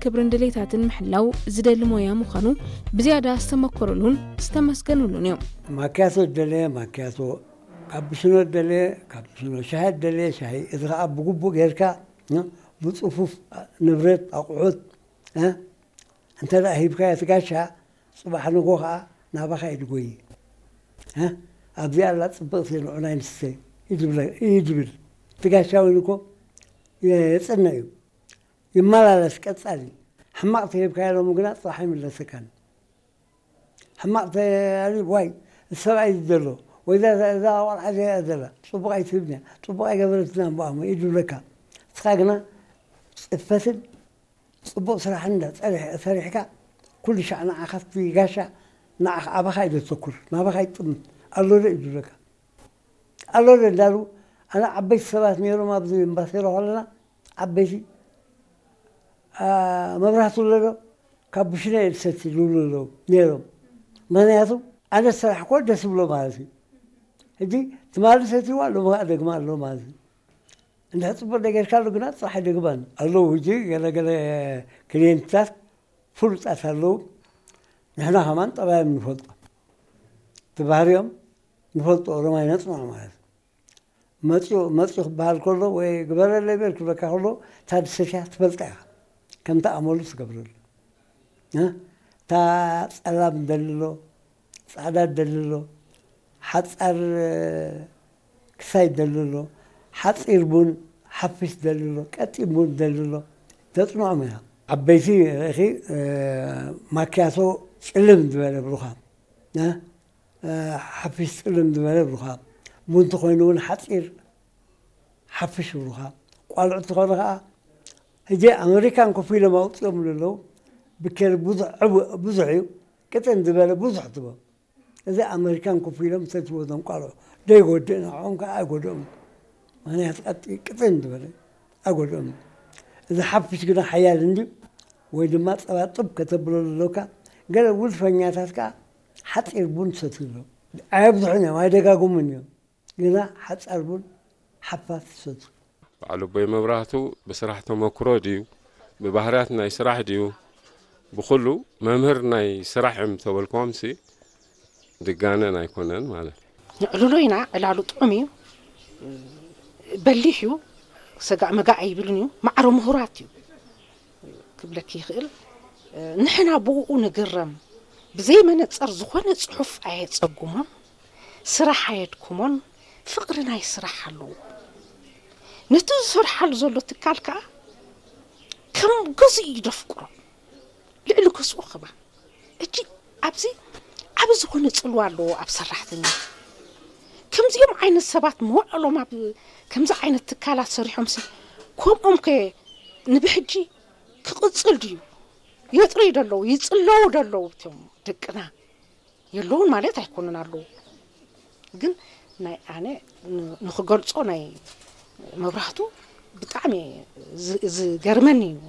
ክብርን ድሌታትን ምሕላው ዝደሊ ሞያ ምዃኑ ብዝያዳ ዝተመኮረሉን ዝተመስገኑሉን እዮም። ማኪያቶ ደለየ ማኪያቶ፣ ካፕሽኖ ደለየ ካፕሽኖ፣ ሻሂ ደለየ ሻሂ። እዚ ከዓ ብግቡእ ጌርካ ብፅፉፍ ንብረት ኣቑሑት እንተ ደኣ ሂብካዮ እቲ ጋሻ፣ ፅባሕ ንጎ ከዓ ናባኻ እዩ ዝጎይ። ኣብዚኣ ኣላ ፅብቕቲ ንዑናይ ንስተ እዩ ዝብል። እቲ ጋሻ እውን እኮ የፅነ እዩ፣ ይመላለስ ቀፃሊ። ሕማቕ ተሂብካዮ ሎሚ ግና ፅባሕ ኣይምለሰካን። ሕማቕ ተያሊ ዋይ፣ ሰብኣይ ዘሎ ወይ እዛ ቆልዓ እዚኣ ዘላ ፅቡቕ ኣይትህብንያ፣ ፅቡቕ ኣይገበረትና እምበኣሞ እዩ ዝብለካ። ንስኻ ግና ፅፈትን ፅቡቕ ስራሕን እንዳ ሰሪሕካ ኩሉ ሻዕ ንዓኻ እቲ ጋሻ ንዓኻ ኣባኻ እዩ ዘተኩር፣ ናባኻ ይጥምት። ኣሎ ዶ እዩ ዝብለካ። ኣሎ ዶ እንዳሉ ኣነ ዓበይቲ ሰባት ነይሮም ኣብዚ እምባሴሮ ከለና ዓበይቲ መብራህቱ ኣሎ ዶ ካብ ብሽነ እየ ዝሰቲ ዝብሉ ኣለዉ ነይሮም። ምክንያቱ ኣነ ዝሰራሕኮ ደስ ብሎ ማለት እዩ። ሕጂ ትማሊ ሰትይዋ ሎሚ ከዓ ደግማ ኣሎ ማለት እዩ። እንድሕር ፅቡቅ ነገር ካሉ ግና ፅራሕ ኣይደግማን ኣለዉ። ሕጂ ገለገለ ክሊየንትታት ፍሉጣት ኣለዉ። ንሕና ከማን ጠባዮም ንፈልጦ፣ እቲ ባህሪኦም ንፈልጦ። ኦሮማይ ነፅንዖ ማለት እዩ። መፅኡ መፅኡ ክበሃል ከሎ ወይ ግበረለይ በል ክብለካ ከሎ እታ ድሰትያ ትፈልጣ ኢኻ። ከምቲ ኣመሉ ትገብረሉ። እታ ፀላም ደልሎ፣ ፃዕዳ ደልሎ፣ ሓፃር ክሳይ ደልሎ፣ ሓፂር ቡን ሓፊስ ደልሎ፣ ቀጢን ቡን ደልሎ፣ ተፅንዖም ኢና። ዓበይቲ ርኢኺ ማኪያቶ ፅልም ዝበለ ብሩኻ ሓፊስ ፅልም ዝበለ ብሩኻ፣ ቡንቲ ኮይኑ እውን ሓፂር ሓፍሽ ብሩኻ። ቋልዑ ትኾኑ ከዓ ሕጂ ኣመሪካን ኮፍ ኢሎም ኣውፅኦም ኣለዉ። ብኬር ብዙሕ ዕቡ- ብዙሕ እዩ፣ ቅጥን ዝበለ ብዙሕ ትቦ። እዚ ኣመሪካን ኮፍ ኢሎም ሰትዎ እዞም ቋልዑ ደይጎድእ ንዕኦም ከዓ ኣይጎድኦም። ምክንያት ቀጥ ቅጥን ዝበለ ኣይጎድኦም። እዚ ሓፍሽ ግና ሓያል እንዲ ወይ ድማ ፀባ ጥብ ከተብሎ ዘለካ። ገለ ውልፈኛታት ከዓ ሓፂር ቡን ሰትዩ ኣለዉ። ኣየብዝሑን እዮም፣ ኣይደጋግሙን እዮም። ግና ሓፃር ቡን ሓፋት ይሰቱ። በዓል ኣቦይ መብራህቱ ብስራሕ ተመክሮ ድዩ፣ ብባህርያት ናይ ስራሕ ድዩ፣ ብኹሉ መምህር ናይ ስራሕ እዮም ተበልክዎምሲ ድጋነን ኣይኮነን ማለት እዩ። ንዕልሎ ኢና፣ ዕላሉ ጥዑም እዩ። በሊሕ እዩ፣ ሰጋእ መጋእ ኣይብልን እዩ። ማዕረ ምሁራት እዩ ክብለኪ ይኽእል። ንሕና ብኡ ንግረም። ብዘይ መነፀር ዝኾነ ፅሑፍ ኣየፀጉሞን፣ ስራሕ ኣየድክሞን፣ ፍቕሪ ናይ ስራሕ ኣለዎ። ነቲ ዝሰርሓሉ ዘሎ ትካል ከዓ ከም ገዝኡ እዩ ደፍቅሮ። ልዕሊ ገዝኡ ክባ እጂ ኣብዚ ዓቢ ዝኾነ ፅልዋ ኣለዎ ኣብ ሰራሕተኛ። ከምዚኦም ዓይነት ሰባት መውዕሎም ኣብ ከምዚ ዓይነት ትካላት ሰሪሖም ሲ ከምኦም ከ ንብሕጂ ክቕፅል ድዩ? የጥርዩ ደለዉ ይፅለዉ ደለዉ እቶም ደቅና የለውን ማለት ኣይኮኑን ኣለዉ። ግን ናይ ኣነ ንክገልፆ ናይ መብራህቱ ብጣዕሚ ዝገርመኒ እዩ።